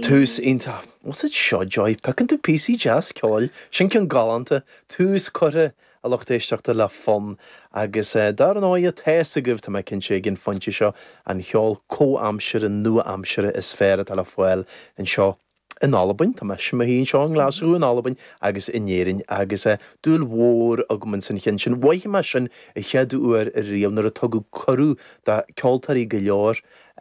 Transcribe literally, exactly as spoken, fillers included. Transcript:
Tús iontach. What's it seo Joy? Piocann tú píosaí deas ceoil, sin ceann galánta, tús curtha a lucht éisteachta le fonn agus eh, dar ndóigh tá a fhios agaibh tá mé cinnte ag an phointe seo an ceol comhaimseartha nua-aimseartha is fearr atá le fáil anseo in Albain Tá mé simí seo an Glasú in Albain agus in Éirinn agus eh, dúil mhór agam san cheann sin. Mhothaigh mé sin an chéad uair riamh nuair a tugadh cuireadh do ceoltóirí go leor